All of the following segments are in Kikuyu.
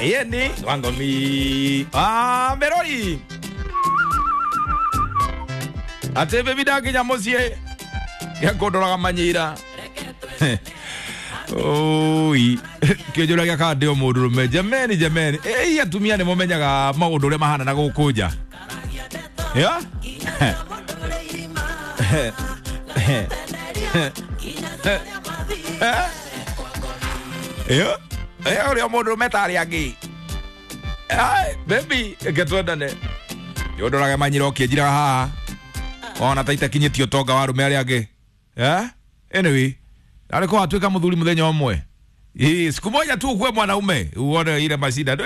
Yeni wangomi ah merori ate bebi ndakinya muciĩ gĩakũndoraga manyira oi kĩnjũragia kana ndĩ o mũndũrũme jameni jameni ĩi atumia nĩ mũmenyaga maũndũ ũrĩa mahana na gũkũ nja ya ya ũrĩa mũndũrũme tarĩ angĩ bebi reke twendane nĩũndoraga manyira ũkĩnjiraga haha ona ta itakinyĩtie ũtonga wa arũme arĩa angĩ. Anyway, arĩ watuĩka mũthuri mũthenya ũmwe. Siku moja tu ukuwe mwanaume uone ile mashida.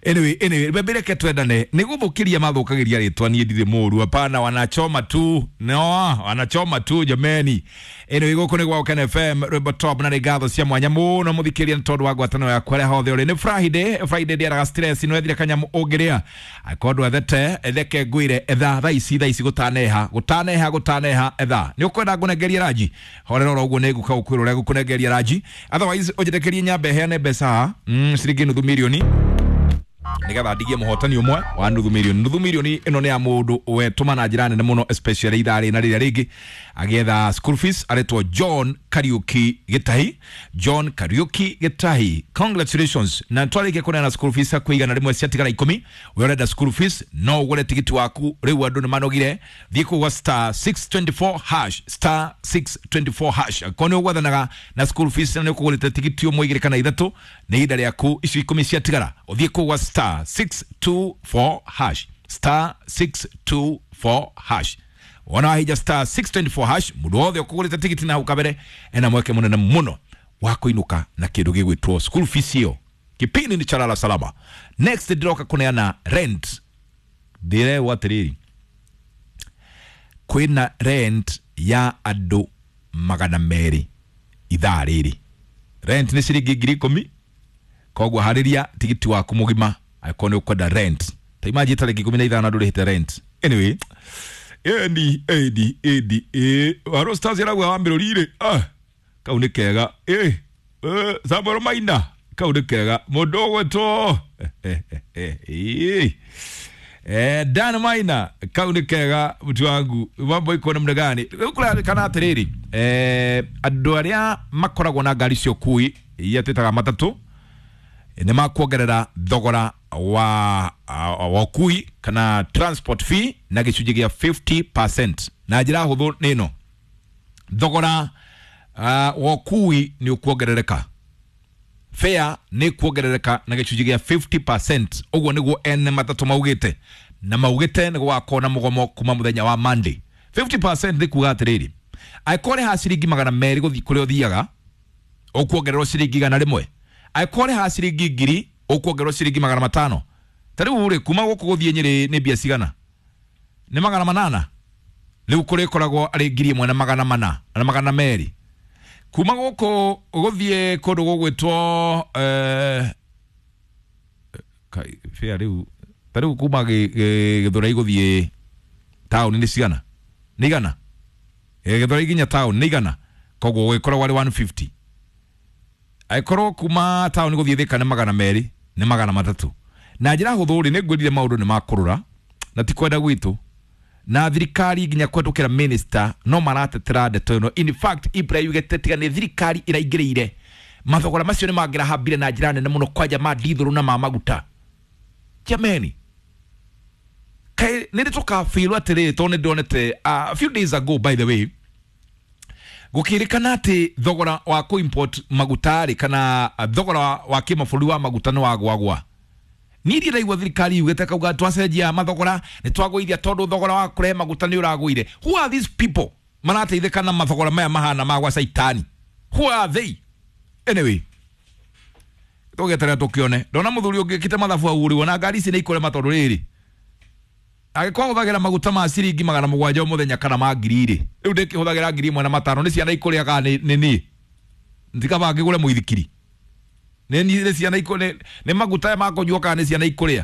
Anyway, anyway, bebe reke twendane nĩ gũthũkĩria mathũkagĩria rĩtwa niĩ ndirĩ mũru hapana wanachoma tu no wanachoma tu jameni. Anyway, gũkũ nĩ gwa Ken FM rwĩmbo top na nĩ ngatho cia mwanya mũno mũthikĩria nĩ tondũ wa ngwatanĩro yaku harĩa hothe ũrĩ. Nĩ Friday, Friday ndĩaraga stress no ethire kanyamũ ũngĩrĩa akorwo ndwethete reke ngwĩre etha thaa ici gũtaneha gũtaneha gũtaneha etha nĩ ũkwenda ngũnengerie ranji horera oro ũguo nĩ ngũka gũkwĩra ũrĩa ngũkũnengeria ranji otherwise ũnjĩtĩkĩrie nyambe heane mbeca ciringi nuthu mirioni nigetha ndigie muhotani umwe wa nuthu mirioni. Nuthu mirioni ĩno nĩ ya mũndũ wetũma na njĩra nene mũno especially ithaa rĩ na rĩrĩa rĩngĩ agĩetha school fees aretwo John Kariuki Gitahi. John Kariuki Gitahi, congratulations. Na twarĩkia kũneana school fees hakuhĩ 100 ciatigara 10. We ũrenda school fees no ũgũre tigiti waku rĩu andũ nĩ manogire. Thiĩ kũu gwa star 624 hash star 624 hash akorwo nĩ ũgwathanaga na school fees na nĩ ũkũgũrĩte tigiti ũmwe igĩrĩ kana ithatũ nĩ ihinda rĩaku icio 10 ciatigara ũthiĩ kũu gwa star 624 hash star 624 hash wona wahija star 624 hash mundu wothe ukugurite tigiti na hau kabere ena mweke munene muno wa kuinuka na kindu gigwitwo school fees iyo. Kipindi ni cha Lala Salama. Next ndiroka kuneana rent ndirewo atiriri kwina rent ya andu 200 ithaa riri. Rent ni ciringi 10,000 koguo hariria tigiti waku mugima akorwo ni ukwenda rent ta imagine tariki 15 ndurihite rent. Anyway, edi edi edi e waro stars iragwa wa mirorire kau nĩ kega Samuel Maina kau nĩ kega mũndũ ũgwĩtwo Dan Maina kau nĩ kega mtu wangu mambo iko namna gani rĩu kũrarĩkana atĩrĩrĩ andũ arĩa makoragwo na ngari cia ũkui iria twĩtaga matatũ nĩ makuongerera thogora wa ũkui kana transport fee na gĩcunjĩ gĩa 50%. Na njĩra hũthũ nĩ ĩno, thogora wa ũkui nĩ ũkuongerereka, fare nĩ kuongerereka na gĩcunjĩ gĩa 50%. Ũguo nĩguo ene matatũ maugĩte, na maugĩte nĩ gũgakorwo na mũgomo kuma mũthenya wa Monday. 50% nĩ kuga atĩrĩrĩ, angĩkorwo ũrĩhaga ciringi 200 gũthiĩ kũrĩa ũthiaga ũkuongererwo ciringi 100. Angĩkorwo ũrĩhaga ciringi 1000 ũkuongererwo ciringi 500. Ta rĩu rĩ kuma gũkũ gũthiĩ Nyĩrĩ nĩ mbia cigana? Nĩ 800. Rĩu kũrĩkoragwo arĩ 1400 na 200. Kuma gũkũ gũthiĩ kũndũ gũgwĩtwo fare rĩu ta rĩu kuma Gĩthũrai gũthiĩ taũni nĩ cigana? Nĩ igana. Gĩthũrai nginya taũni nĩ igana, koguo gũgĩkoragwo arĩ 150. Angĩkorwo kuma taũni gũthiĩ Thĩka nĩ 200 nĩ 300. Na njĩra hũthũ rĩ nĩ ngwĩrire maũndũ nĩ makũrũra na ti kwenda gwitũ na thirikari nginya kũhetũkĩra minister no maratetera ndeto ĩno. In fact Ibra yugĩte tiga nĩ thirikari ĩraingĩrĩire mathogora macio nĩ mangĩrahambire na njĩra nene mũno kwanja ma ndithũrũ na ma maguta. Jameni, kaĩ nĩ tũkabirwo atĩrĩrĩ tondũ nĩ ndonete a few days ago by the way gũkĩrĩkana atĩ thogora wa kũ-import maguta rĩ kana thogora wa kĩmabũrũri wa maguta nĩ wagwagwa. Niĩ ndiraigua thirikari yugĩte kauga twacenjia mathogora nĩ twagũithia tondũ thogora wa kũrehe maguta nĩ ũragũire. Who are these people marateithĩka na mathogora maya mahana ma gwa caitani? Who are they? Anyway, tũgeterera tũkĩone. Ndona mũthuri ũngĩkĩte mathabu ahũrĩrwo na ngari ici nĩ ikũrema tondũ rĩrĩ angĩkorwo hũthagĩra maguta ma ciringi 700 o mũthenya kana ma 1000 rĩ rĩu ndĩkĩhũthagĩra 1500 nĩ ciana ikũrĩa kana nĩ niĩ ndikaba ngĩgũre mũithikiri nĩ ciana ikũrĩa nĩ maguta ma kũnyua kana nĩ ciana ikũrĩa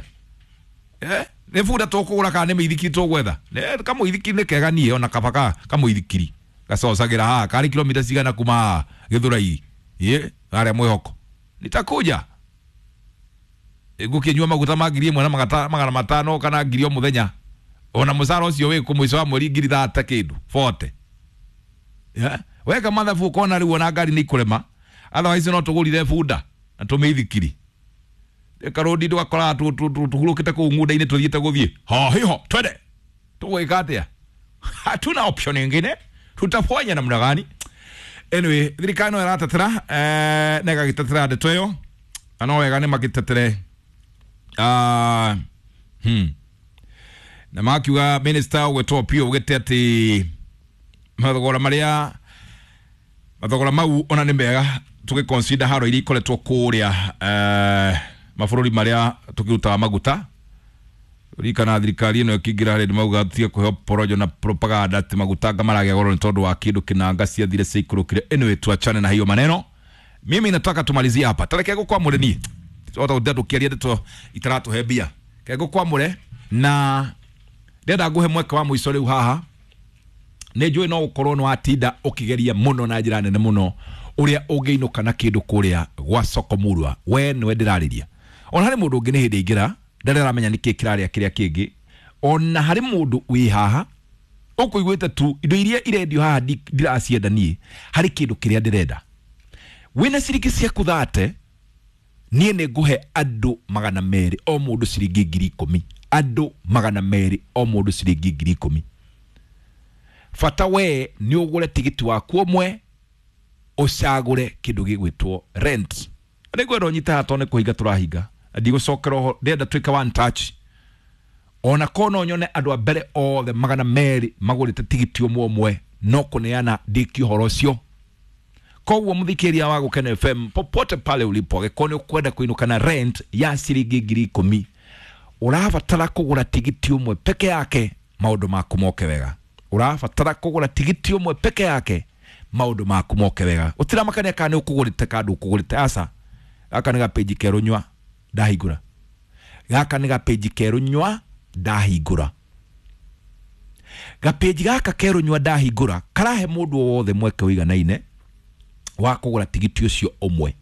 nĩ bunda tũkũgũra kana nĩ mĩithikiri tũgwetha kamũithikiri nĩ kega niĩ ona kaba kamũithikiri gacocagĩra haha karĩ kilomita cigana kuma haha Gĩthũrai harĩa mwĩhoko nitakuja. Ngũkĩnyua maguta ma 1,000 na 500 kana 1,000 o mũthenya. Ona mũcara ũcio wĩ kũ mũico wa mweri 30,000 kĩndũ 40. Yeah. Weka mathabu ukona rĩu ona ngari nĩ ikũrema. Otherwise no tũgũrire bunda na tũmĩithikiri. Karodi ndũgakora tũhurũkĩte kũu ng'unda-inĩ tũthiĩte gũthiĩ. Ha hiho twende. Tũgwĩka atĩa? Hatuna option nyingine. Tutafanya namna gani? Anyway, thirikari no ĩratetera na ĩgagĩtetera ndeto ĩyo na no wega nĩ magĩtetere. Na makiuga minister ũgwĩtwo Opiyo augĩte atĩ mathogora marĩa mathogora mau ona nĩ mega tũgĩ haro iria ikoretwo kũrĩa mabũrũri marĩa tũkĩrutaga maguta. Ririkana thirikari ĩno ĩkĩingĩra harĩ mauga tige kũheo porojo na propaganda atĩ maguta anga maragĩa goro nĩ tondũ wa kĩndũ kĩnanga ciathire ciikũrũkire. Anyway, tuachane na hiyo maneno. Mimi nataka tumalizie hapa. Tareke ngũkwamũre niĩ ota gũtinda tũkĩaria ndeto itaratũhe mbia. Reke ngũkwamũre na ndĩrenda ngũhe mweke wa mũico rĩu haha. Nĩ njũĩ no ũkorwo nĩ watinda ũkĩgeria mũno na njĩra nene mũno ũrĩa ũngĩinũka na kĩndũ kũrĩa gwa soko murwa. We nĩwe ndĩrarĩria. Ona harĩ mũndũ ũngĩ nĩ hĩndĩ aingĩra ndarĩ aramenya nĩkĩ kĩrarĩa kĩrĩa kĩngĩ. Ona harĩ mũndũ wĩ haha ũkũiguĩte tu indo iria irendio haha ndiracienda niĩ, harĩ kĩndũ kĩrĩa ndĩrenda. Wĩna ciringi ciaku 30, niĩ nĩ ngũhe andũ 200 o mũndũ ciringi 10,000. Andũ 200 o mũndũ ciringi 10,000. Bata we nĩ ũgũre tigiti waku ũmwe ũcagũre kĩndũ gĩgwĩtwo rent. Nĩ ngwenda ũnyite haha tondũ nĩ kũhinga tũrahinga. Ndigũcokera ũhoro, ndĩrenda twĩke one touch. Ona korwo no nyone andũ a mbere othe 200 magũrĩte tigiti ũmwe ũmwe no kũneana ndĩkie ũhoro ũcio. Koguo mũthikĩrĩria wa Gũkena FM popote pale ulipo, angĩkorwo nĩ ũkwenda kũinũka na rent ya ciringi 10,000, ũrabatara kũgũra tigiti ũmwe peke yake maũndũ maku moke wega. Ũrabatara kũgũra tigiti ũmwe peke yake maũndũ maku moke wega. Ũtiramakania kana nĩ ũkũgũrĩte kana ndũkũgũrĩte, aca. Gaka nĩ gapĩnji kerũ nyua ndahingũra. Gaka nĩ gapĩnji kerũ nyua ndahingũra. Gapĩnji gaka kerũ nyua ndahingũra karahe mũndũ o wothe mweke ũiganaine wa kũgũra tigiti ũcio ũmwe.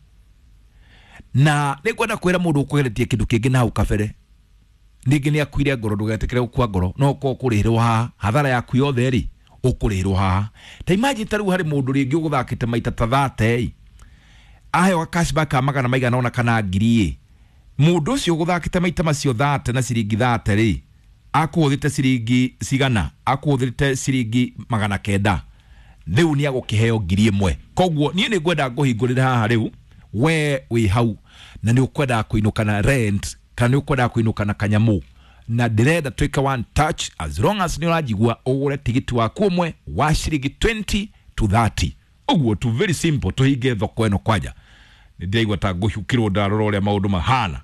Na nĩ ngwenda kwĩra mũndũ ũkũgeretie kĩndũ kĩngĩ na hau kabere, ningĩ nĩ akuire ngoro, ndũgetĩkĩre gũkua ngoro, no ũkorwo ũkũrĩhĩrwo haha hathara yaku yothe rĩ ũkũrĩhĩrwo haha. Ta imagine ta rĩu harĩ mũndũ rĩngĩ ũgũthakĩte maita ta 30 aheo cashback ka magana maigana ona kana 1,000 ĩ, mũndũ ũcio ũgũthakĩte maita macio 30 na ciringi 30 rĩ akũhũthĩte ciringi cigana? Akũhũthĩrĩte ciringi 900. Rĩu nĩ agũkĩheo 1,000. Koguo niĩ nĩ ngwenda ngũhingũrĩre haha rĩu, we wĩ hau na nĩ ũkwendaga kũinũka na rent kana nĩ ũkwendaga kũinũka na kanyamũ, na ndĩrenda twĩke one touch. As long as nĩ ũranjigua, ũgũre tigiti waku ũmwe wa ciringi 20 to 30. Ũguo tu, very simple. Tũhinge thoko ĩno kwanja. Nĩ ndĩraigua ta ngũcukĩrwo ndarora ũrĩa maũndũ mahana.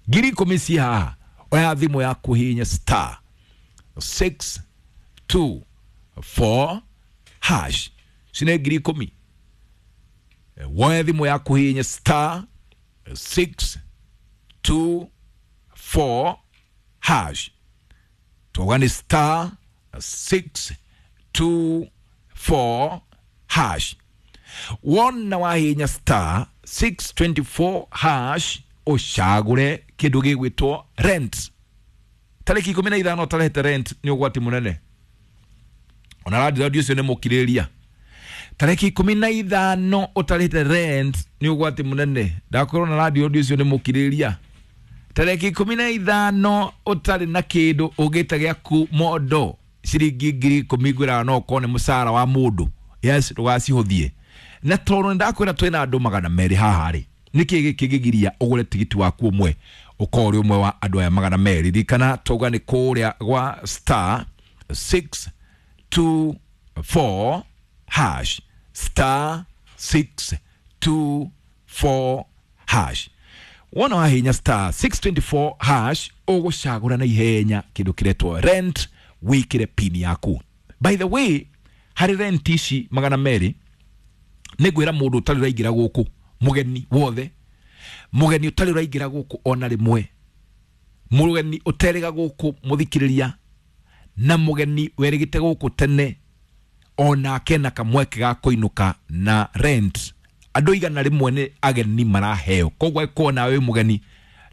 10,000 ci haha. Oya thimũ yaku hihinya star 6 2 4 hash. Cine 10,000. Woe thimũ yaku hihinya star 6 2 4 hash. Twauga nĩ star 6 2 4 hash. Wona wahihinya star 624 hash ũcagũre kĩndũ gĩgwĩtwo rent. Tarĩki 15 ũtarehete rent nĩ ũgwati mũnene. Ona landlord ũcio nĩ mũkirĩrĩria. Tarĩki 15 ũtarĩte rent nĩ ũgwati mũnene. Ndakwĩrwo na landlord ũcio nĩ mũkirĩrĩria. Tarĩki 15 ũtarĩ na kĩndũ ũngĩte gĩaku mondo ciringi 10,000 ngwĩraga no ũkorwo nĩ mũcara wa mũndũ. Yes, ndũgacihũthie. Na tondũ nĩndakwĩra twĩna andũ 200 haha rĩ, nĩkĩ gĩkĩ kĩgiria ũgũre tigiti waku ũmwe ũkorwo ũrĩ ũmwe wa andũ aya 200? Ririkana twauga nĩ kũrĩa gwa star 6 2 4 hash, star 6 2 4 hash. Wona wahinya star 624 hash ũgũcagũra na ihenya kĩndũ kĩretwo rent, wĩkĩre pin yaku. By the way, harĩ rent ici 200 nĩ ngwĩra mũndũ ũtarĩ ũraingĩra gũkũ, mũgeni wothe, mũgeni ũtarĩ ũraingĩra gũkũ ona rĩmwe, mũgeni ũterĩga gũkũ mũthikĩrĩria, na mũgeni werĩgĩte gũkũ tene, onake na kamweke ga kũinũka na rent. Andũ 100 nĩ ageni maraheo. Koguo angĩkorwo nawe wĩ mũgeni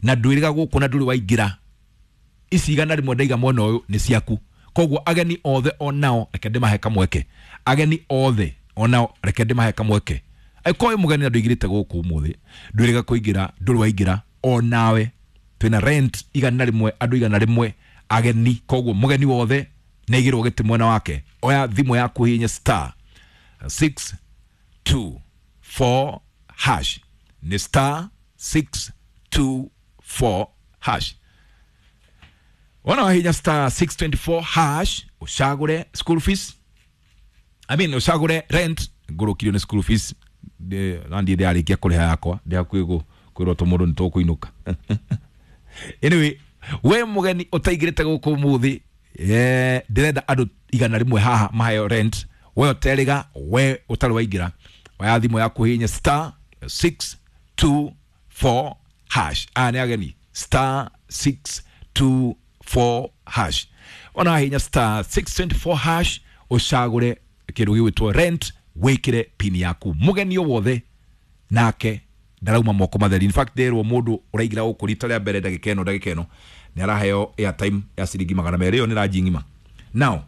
Na ndwĩrĩga gũkũ na ndũrĩ waingĩra, ici 100 ndaiga mwena ũyũ nĩ ciaku. Koguo ageni othe onao reke ndĩmahe kamweke, ageni othe onao reke ndĩmahe kamweke. Angĩkorwo wĩ mũgeni na ndũingĩrĩte gũkũ ũmũthĩ, ndwĩrĩga kũingĩra, ndũrĩ waingĩra, onawe twĩna rent 100, andũ 100 ageni. Koguo mũgeni wothe nĩ aigĩrwo gĩtĩ mwena wake. Oya thimũ yaku, hihinya star 6 2 4 hash, nĩ star 6 2 4 hash. Wona wahinya star 624 hash, ucagure school fees, I mean ucagure rent. Ngũrũkirio nĩ school fees na ndiĩ ndĩrarĩkia kũrĩha yakwa, ndĩ hakuhĩ kwĩrwo tũmũndũ nĩ tũkũinũka. Anyway, we mũgeni ũtaingĩrĩte gũkũ ũmũthĩ, ndĩrenda andũ 100 haha maheo rent. We ũterĩga, we ũtarĩ waingĩra, oya thimũ yaku, hihinya star 624 hash. Aya nĩ ageni, star 624 hash. Ona wahihinya star 624 hash, ũcagũre kĩndũ gĩgwĩtwo rent, wĩkĩre pin yaku. Mũgeni o wothe nake ndarauma moko matheri. In fact, nderwo mũndũ ũraingĩra gũkũ rita rĩa mbere ndagĩka ĩno nĩ araheo airtime ya ciringi 200. Ĩyo nĩ ranji ng'ima. Now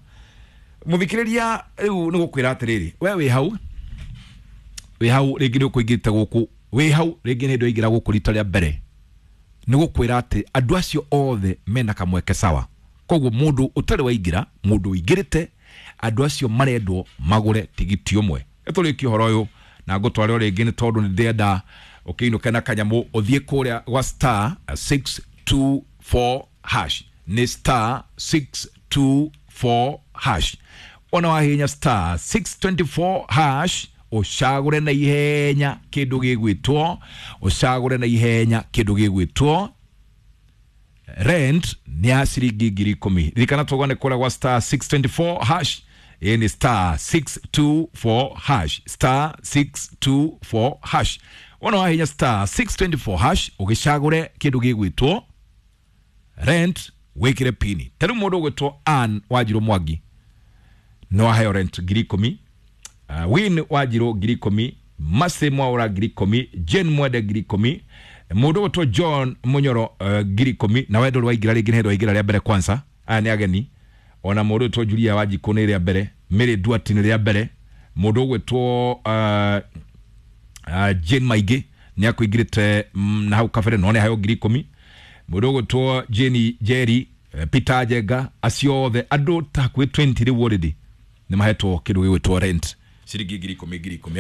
mũthikĩrĩria, rĩu nĩ gũkwĩra atĩrĩrĩ, we wĩ hau, wĩ hau rĩngĩ nĩ ũkũingĩrĩte gũkũ, wĩ hau rĩngĩ nĩ hĩndĩ waingĩra gũkũ rita rĩa mbere, nĩ gũkwĩra atĩ andũ acio othe mena kamweke sawa. Koguo mũndũ ũtarĩ waingĩra, mũndũ ũingĩrĩte, andũ acio marendwo magũre tigiti ũmwe. Tũrĩkie ũhoro ũyũ na ngũtware o rĩngĩ, nĩ tondũ nĩ ndĩrenda ũkĩinũke na kanyamũ. Ũthiĩ kũrĩa gwa star 624 hash, nĩ star 624 hash. Ona wahihinya star 624 hash, ũcagũre na ihenya kĩndũ gĩgwĩtwo, ũcagũre na ihenya kĩndũ gĩgwĩtwo rent, nĩ ya ciringi 10,000. Ririkana tũgane kũrĩa gwa star 624 hash. Ĩ nĩ star 624 hash, star 624 hash. Wona wahinya star 624 hash, ũgĩcagũre kĩndũ gĩgwĩtwo rent, wĩkĩre pini. Ta rĩu mũndũ ũgwĩtwo Ann Wanjirũ Mwangi no aheo rent 10,000, Win Wanjirũ 10,000, Mase Mwaura 10,000, Jane Mwende 10,000, mũndũ ũgwĩtwo John Munyoro 10,000. Na we ndũrĩ waingĩra rĩngĩ, nĩ hĩndĩ waingĩra rĩa mbere kwanza, aya nĩ ageni. Ona mũndũ ũgwĩtwo Julia Wanjikũ nĩ rĩa mbere, Mary Duarte nĩ rĩa mbere, mũndũ ũgwĩtwo Jane Maingĩ nĩ akũingĩrĩte na hau kabere no nĩ aheo 10,000, mũndũ ũgwĩtwo Jane Jerry, Peter Njenga, acio othe andũ ta hakuhĩ 20 rĩu already nĩ mahetwo kĩndũ gĩgwĩtwo rent ciringi 10,000 10,000.